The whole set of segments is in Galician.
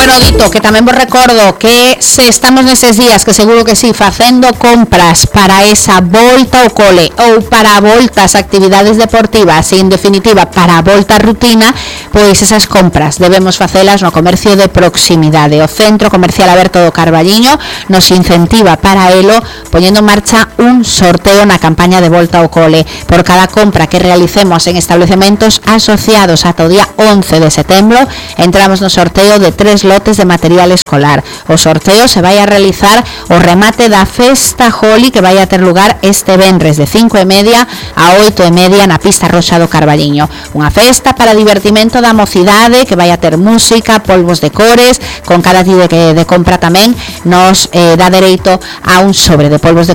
Bueno, dito, que tamén vos recordo que se estamos neses días, que seguro que sí, facendo compras para esa volta ao cole ou para a volta ás actividades deportivas e, en definitiva, para a volta á rutina, pois esas compras debemos facelas no comercio de proximidade. O Centro Comercial Aberto do Carballiño nos incentiva para elo poñendo en marcha un sorteo na campaña de volta ao cole. Por cada compra que realicemos en establecementos asociados ata o día 11 de setembro, entramos no sorteo de 3 lotes de material escolar. O sorteo se vai a realizar o remate da Festa Holi, que vai a ter lugar este venres de 5:30 a 8:30 na pista roxa do Carballiño. Unha festa para divertimento da mocidade, que vai a ter música, polvos de cores. Con cada día de compra tamén nos dá dereito a un sobre de polvos de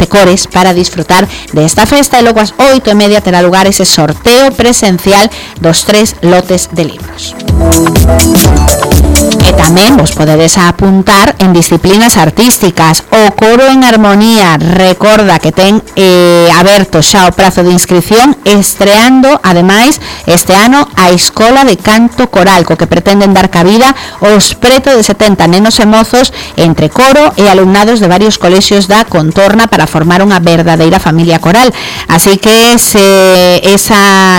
cores para disfrutar desta festa, e logo ás 8:30 terá lugar ese sorteo presencial dos 3 lotes de libros. E tamén vos podedes apuntar en disciplinas artísticas. O Coro en Armonía recorda que ten aberto xa o prazo de inscripción, estreando ademais este ano a Escola de Canto Coral, co que pretenden dar cabida aos preto de 70 nenos e mozos entre coro e alumnados de varios colexios da contorna para formar unha verdadeira familia coral. Así que se esa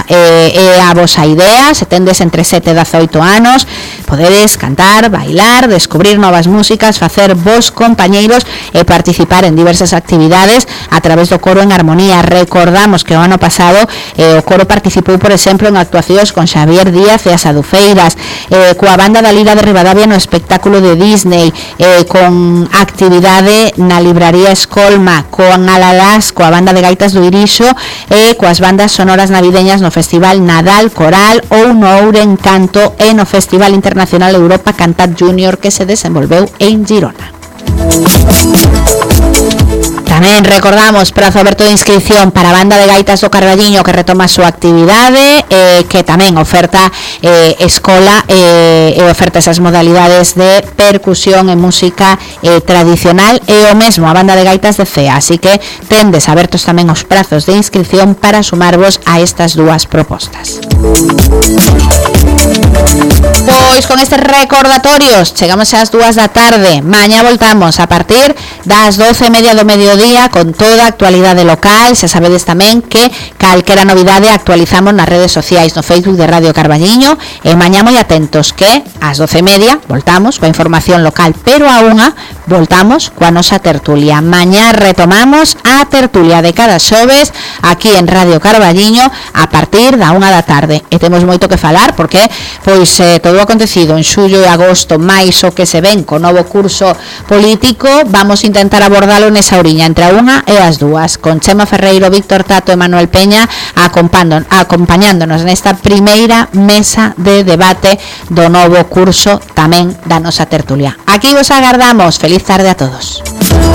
é a vosa idea, se tendes entre 7 e 18 anos, podedes cantar, bailar, descubrir novas músicas, facer vos compañeiros e participar en diversas actividades a través do Coro en Armonía. Recordamos que o ano pasado o coro participou, por exemplo, en actuacións con Xavier Díaz e as Adufeiras, coa banda da Lira de Ribadavia no espectáculo de Disney, con actividade na libraría Escolma, con Alalás, coa banda de gaitas do Irixo, e coas bandas sonoras navideñas no Festival Nadal Coral ou no Ouren Canto e no Festival Internacional Europa Cantat Junior, que se desenvolveu en Girona. Tamén recordamos prazo aberto de inscripción para a banda de gaitas do Carballiño, que retoma a súa actividade, que tamén oferta escola e oferta esas modalidades de percusión e música tradicional, e o mesmo a banda de gaitas de CEA. Así que tendes abertos tamén os prazos de inscripción para sumarvos a estas dúas propostas. Pois con estes recordatorios chegamos ás 2 da tarde. Mañá voltamos a partir das 12:30 do mediodía con toda a actualidade local. Xa sabedes tamén que calquera novidade actualizamos nas redes sociais, no Facebook de Radio Carballiño, e mañá moi atentos que ás 12:30 voltamos coa información local, pero a 1 voltamos coa nosa tertulia. Mañá retomamos a tertulia de cada xoves aquí en Radio Carballiño a partir da 1 da tarde, e temos moito que falar porque pois todo o acontecido en xullo e agosto, máis o que se ven co novo curso político, vamos a intentar abordalo nesa oriña entre a 1 e as 2, con Chema Ferreiro, Víctor Tato e Manuel Peña acompañándonos nesta primeira mesa de debate do novo curso tamén da nosa tertulia. Aquí vos agardamos. Feliz tarde a todos.